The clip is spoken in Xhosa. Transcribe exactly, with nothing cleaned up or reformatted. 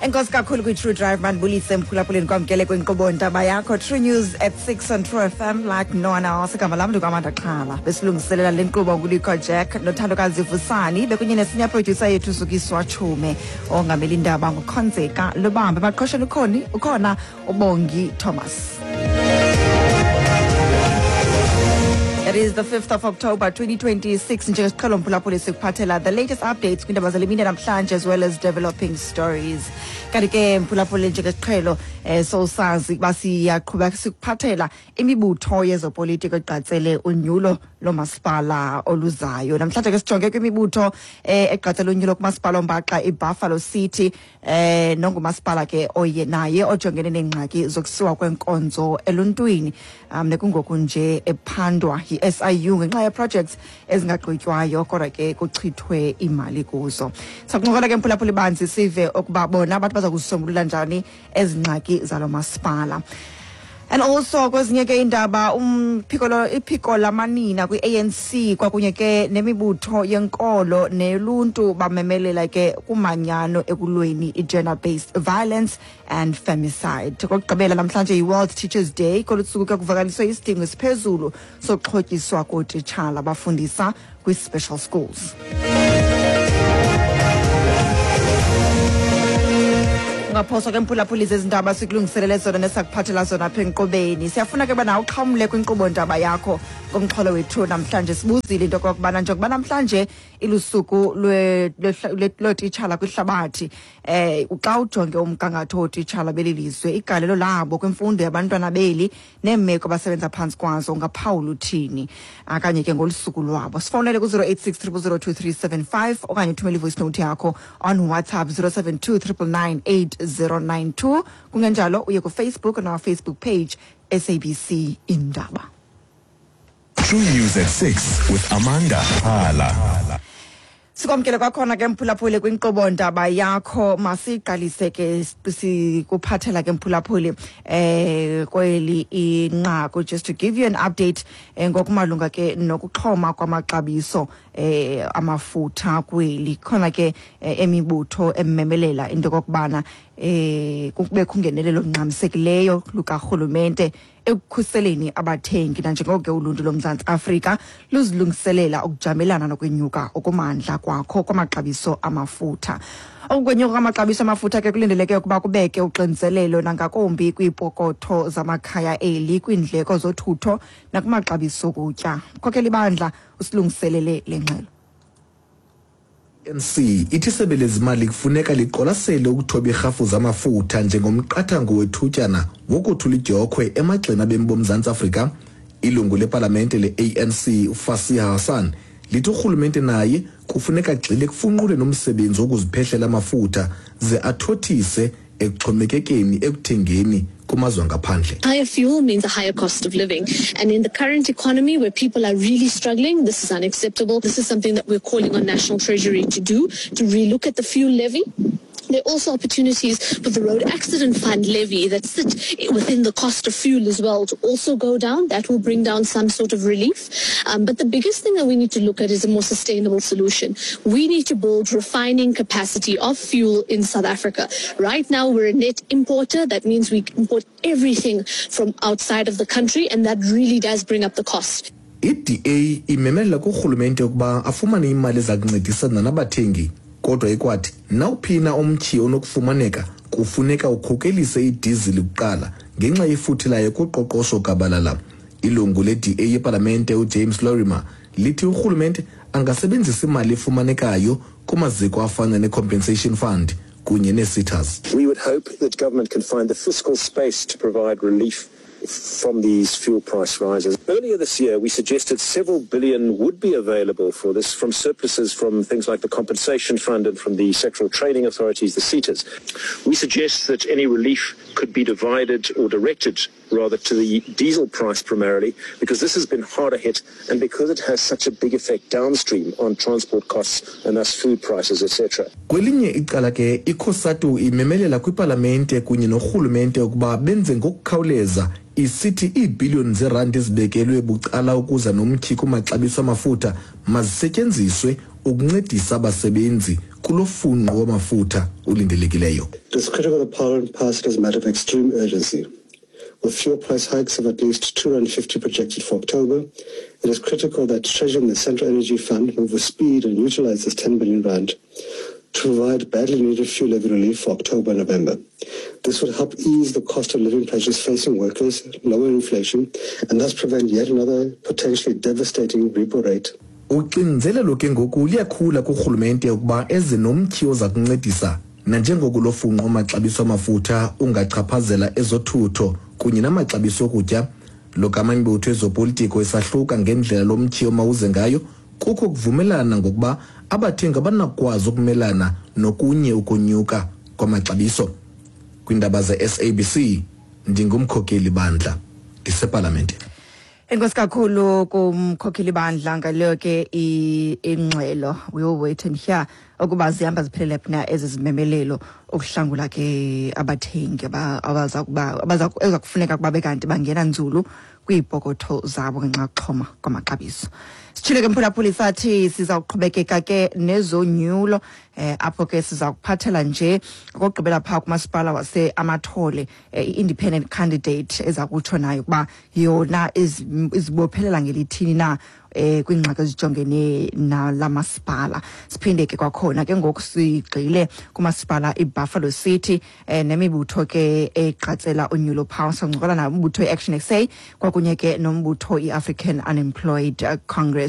Enkosi kakhulu kwi-True Drive. Mandibulise, mphulaphuleni, kwamkele kwinkqubo ntaba yakho, True News at six on True F M like no one else. Igama lam ndinguAmanda Xhala. Besilungiselela le nkqubo nguLikho Jack noThandokazi Vusani, bekunye ne-senior producer yethu Zukiswa Chume. Ongamela indaba nguKhonzeka Lubambe. Emaqhosheni ukhoni ukhona uBongi Thomas. It is the fifth of October twenty twenty-six. Njengesiqhelo, mphulaphuli, sikuphathela the latest updates kwiindaba zale mini namhlanje as well as developing stories. Kanti ke, mphulaphuli, njengesiqhelo eh sowusazi ukuba siyaqhubeka sikuphathela imibutho yezopolitiko egqatsele unyulo lomasipala oluzayo. Namhlanje ke sijonge kwimibutho eh egqatsele unyulo kumasipala ombaxa iBuffalo City, eh nongumasipala ke oye naye ojongene neengxaki zokusiwa kwenkonzo eluntwini, um nekungoku nje ephandwa yi-S I U ngenxa ye-projects ezingagqitywayo kodwa ke kuchithwe imali kuzo. Sakuncokola ke, mphulaphuli, banzi sive ukuba bona abantu baza kuzisombulula njani ezi ngxaki zalo masipala. And also kwezinye ke indaba, umphiko lo iphiko lamanina kwi-A N C kwakunye ke nemibutho yenkolo neluntu bamemelela ke kumanyano ekulweni i-gender based violence and femicide. Kokugqibela, namhlanje yi-World Teachers Day. Kolu suku ke kuvakaliswe isidingo esiphezulu sokuxhotyiswa kootitshala abafundisa kwi-special schools. Ungaphoswa ke, mphulaphuli, zezi ndaba sikulungiselele zona nesakuphathela zona apha enkqubeni. Siyafuna ke uba nawe uxhamle kwinkqubo ndaba yakho ngomxholo wethu namhlanje. Sibuzile into okokubana njengokuba namhlanje ilusuku lwe- lwe- lwe- lootitshala kwihlabathi, eh xa ujonge umgangatho wootitshala beli lizwe, igalelo labo kwimfundo yabantwana beli neemeko abasebenza phantsi kwazo, ungaphawula uthini okanye ke ngolu suku lwabo? Sifowunele ku-zero eight six zero zero two three seven five okanye uthumele i-voice note yakho on WhatsApp zero seven two nine nine nine eight zero nine two. Kungenjalo uye kuFacebook on our Facebook page, S A B C Indaba. True News at six with Amanda Hala. Sikwamkele kwakhona ke, mphulaphuli, kwinkqubo ndaba yakho. Masiqalise ke sikuphathela ke, mphulaphuli, eh kweli inqaku, just to give you an update eh, ngokumalunga ke nokuxhoma kwamaxabiso eh amafutha kweli. Khona ke eh, emibutho ememelela into kokubana eh kubekho ungenelelo olungxamisekileyo lukarhulumente ekukhuseleni abathengi nanjengoko ke uluntu loMzantsi Afrika luzilungiselela ukujamelana nokwenyuka okumandla kwakho kwamaxabiso amafutha. Ukwenyuka kwamaxabiso amafutha ke kulindeleke ukuba kubeke uxinzelelo nangakumbi kwiipokotho zamakhaya eli, kwiindleko zothutho nakumaxabiso okutya. Khokhela ibandla usilungiselele le ngxelo. A N C ithi isebe lezimali kufuneka liqwalasele ukuthoba irhafu zamafutha njengomqathango wethutyana wokuthula idyokhwe emagxeni abemi boMzantsi Afrika. Ilungu lepalamente le-A N C uFasiha Hassan lithi urhulumente naye kufuneka agxile kufunqule nomsebenzi wokuziphehlela amafutha ze athothise ekuxhomekekeni ekuthengeni kumazwe angaphandle. Higher fuel means a higher cost of living. And in the current economy where people are really struggling, this is unacceptable. This is something that we're calling on National Treasury to do, to relook at the fuel levy. There are also opportunities for the road accident fund levy that sit within the cost of fuel as well to also go down. That will bring down some sort of relief. Um, but the biggest thing that we need to look at is a more sustainable solution. We need to build refining capacity of fuel in South Africa. Right now, we're a net importer. That means we import everything from outside of the country, and that really does bring up the cost. I-D A imemelela kurhulumente ukuba afumane imali eza kuncedisana nabathengi, kodwa ikwathi nawuphina umtyhi onokufumaneka kufuneka ukhokelise idizili kuqala ngenxa yefuthe layo kuqoqosho gabalala. Ilungu le-D A yepalamente uJames Lorimer lithi urhulumente angasebenzisa imali efumanekayo kumaziko afana ne-compensation fund kunye nee-SETAs. We would hope that government can find the fiscal space to provide relief from these fuel price rises. Earlier this year, we suggested several billion would be available for this from surpluses from things like the Compensation Fund and from the sectoral trading authorities, the SETAs. We suggest that any relief could be divided or directed rather to the diesel price primarily, because this has been harder hit and because it has such a big effect downstream on transport costs and thus food prices, et cetera Kwelinye icala ke, iCOSATU imemelela kwipalamente kunye norhulumente ukuba benze ngokukhawuleza, isithi iibhiliyoni zeerandi ezibekelwe bucala ukuza nomtyhi kumaxabiso amafutha mazisetyenziswe ukuncedisa abasebenzi. kulo funqo wamafutha ulindelekileyo. It is critical that Parliament pass it as a matter of extreme urgency. With fuel price hikes of at least two hundred fifty projected for October, it is critical that Treasury and the Central Energy Fund move with speed and utilize this ten billion rand to provide badly needed fuel levy relief for October and November. This would help ease the cost of living pressures facing workers, lower inflation, and thus prevent yet another potentially devastating repo rate. Uxinzelelo ke ngoku liyakhula kurhulumente ukuba eze nomtyhi oza kuncedisa nanjengoko lo funqo wamaxabiso amafutha ungachaphazela ezothutho kunye namaxabiso okutya. Lo gama imibutho ezopolitiko isahluka ngendlela lo mtyhi omawuze ngayo, kukho ukuvumelana ngokuba abathengi abanakukwazi ukumelana nokunye ukonyuka kwamaxabiso. Kwiindaba ze-S A B C, ndingumkhokeli bandla ndisepalamente. Enkosi kakhulu kumkhokheli bandla ngaleyo ke ingxelo. We will wait and hear ukuba zihamba ziphelele phi na ezi zimemelelo ukuhlangula ke abathengi abaza kuba abaza eza kufuneka kuba bekanti bangena nzulu kwiipokotho zabo ngenxa yokuxhoma kwamaxabiso. Sitshile ke, mphulaphuli, sathi siza kuqhubekeka ke nezonyulo, eh apho ke siza kuphathela nje okugqibela phaa kumasipala wase-Amathole, eh, i-independent candidate eza kutsho nayo ukuba yona izibophelela ngelithini na eh kwingxaki ezijongene nala masipala. Siphinde ke kwakhona ke ngoku sigxile kumasipala iBuffalo City, eh nemibutho ke eqatsela unyulo phaa. Sincokola nayo umbutho i-Action S A kwakunye ke nombutho i-African Unemployed Congress.